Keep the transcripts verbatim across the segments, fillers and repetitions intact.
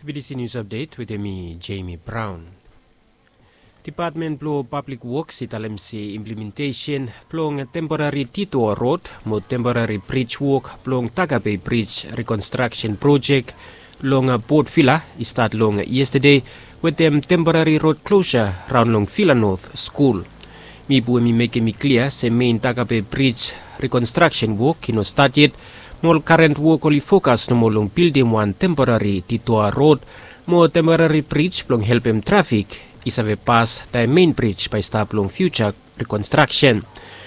B B C News Update wetem mi, Jamie Brown. Depatmen blong Pablik Woks i talem se implementesen blong temporari detour rod mo temporari brij wok blong Takape Brij rekonstraksen projek long Port Vila i stat long yestade wetem temporari rod klosa raon long Vila North Skul. Mipu hemi mekem i klia se mein Takape Brij rekonstraksen wok i no stat yet, mo ol karen wok oli fokas nomo long bildim wan temporari detour rod mo temporari brij blong helpem trafik i save pas taem mein brij bae i stap long fiuja rekonstraksen.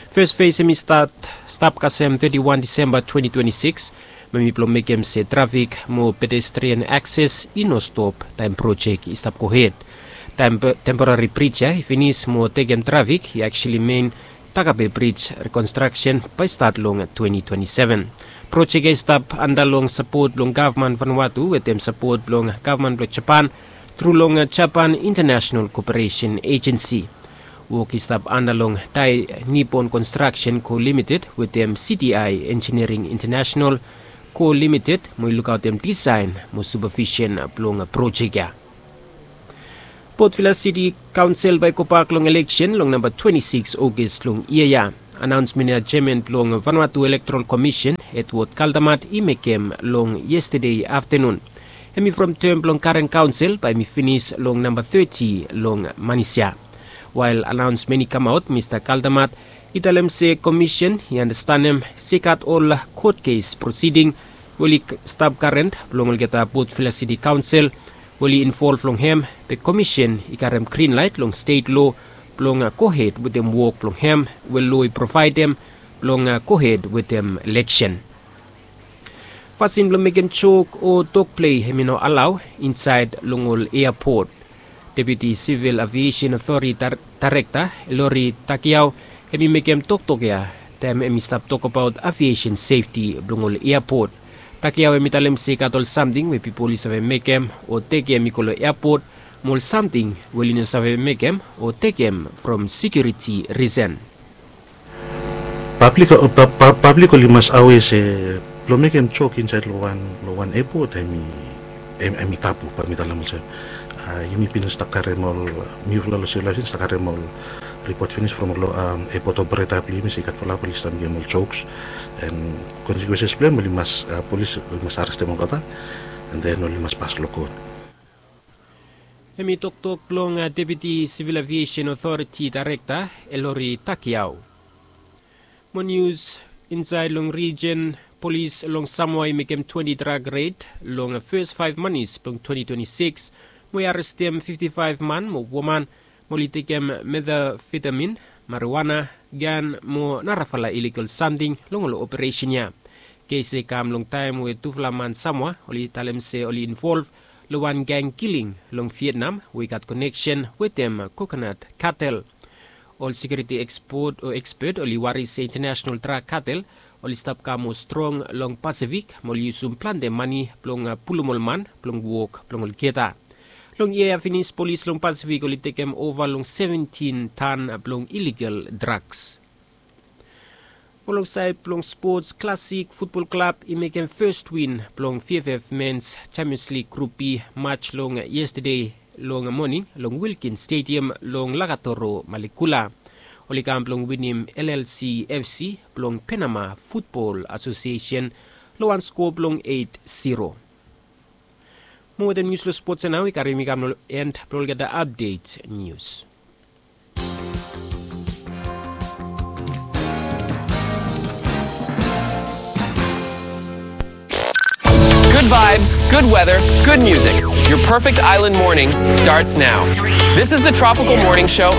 Fes fes hemi stat stap kasem teti wan Disemba twenti twenti sikis, mo hemi blong mekem se trafik mo pedestrian akses i no stop taem projek i stap gohed. Taem temporari brij ya i finis mo tekem trafik i actually mein Takape Brij rekonstraksen bae i stat long twenti twenti seven. Projek ya i stap anda long sapot blong gavman Vanuatu wetem sapot blong gavman blong Japan tru long Japan International Cooperation Agency. Wok i stap anda long Dai Nippon Construction Co Limited wetem C D I Engineering International Co Limited mo i lukaotem disaen mo supavisen blong projek ya. Port Vila City Kaonsel bae i gobak long eleksen long namba twenti sikis Ogos long yia ya. Anaonsmen ya jeaman blong Vanuatu Electoral Commission, Edward Kaldamat, i mekem long yestade aftenun. Hemi from tem blong karen kaonsel bae hemi finis long namba teti long manis ya. Wael anaonsmen i kamaot, Mista Kaldamat i talem se komisen i andastanem se i gat ol kot kes prosiding we oli stap karen blong olgeta Port Vila City Kaonsel we oli involv long hem, be komisen i karem grin laet long stet loa blong gohed wetem wok blong hem we loa i provaedem blong gohed wetem eleksen. Fasin blong mekem jok o tokplei hemi no alao insaed long ol eapot. Deputi Sivil Aviesen Otoriti Daerekta Elori Takiao hemi mekem toktok ya taem hemi stap tokbaot aviesen sefti blong ol eapot. Takiao hemi talem se i gat ol samting we pipol i save mekem o tekem i go long eapot, mo ol samting we oli no save mekem o tekem from sekiuriti risen. Pablik, pablik oli mas awea se blong mekem jok insaed long wan, long wan eapot hemi, hemi tabu. Bae mi talem olsem, yumi bin stap karem ol, mifala long Sivil Aviesen stap karem ol ripot finis from ol eapot opereta blong yumi se i gat fulap oli stap mekem ol joks. And consequences blong hem oli mas, polis oli mas arestem olgeta, and then oli mas pas long kot. Hemi toktok blong Deputi Sivil Aviesen Otoriti Daerekta Elori Takiao. Mo nius insaed long rijen, polis long Samoa i mekem twenti drag red long fes faef manis blong twenti twenti sikis, mo i arestem fifti faef man mo woman mo oli tekem metafetamin, marijuana, gan mo narafala iligal samting long ol operesen ya. Kes ya i kam long taem we tufala man Samoa oli talem se oli involv long wan gang kiling long Vietnam we i gat koneksen wetem kokonat katel. Ol sekiuriti ekspot o ekspet oli wari se intanasenal drag katel oli stap kam moa strong long Pasifik mo oli yusum plante mane blong pulum ol man blong wok blong olgeta. Long yia ya finis polis long Pasifik oli tekem ova long seventin tan blong iligal drags. Mo long saed blong spots, Classic Futbol Klab i mekem fes win blong VFF Mens Champions League Grup B match long yestade long moning long Wilkins Stadium long Lakatoro, Malekula. Oli kam blong winim LLC FC blong Penama Futbol Asosiesen long wan skoa blong eit siro. Mo wetem nius long spots ya nao i karem mi kam long en blong olgeta apdet nius. Good vibes, good weather, good music. Your perfect island morning starts now. This is the Tropical Morning Show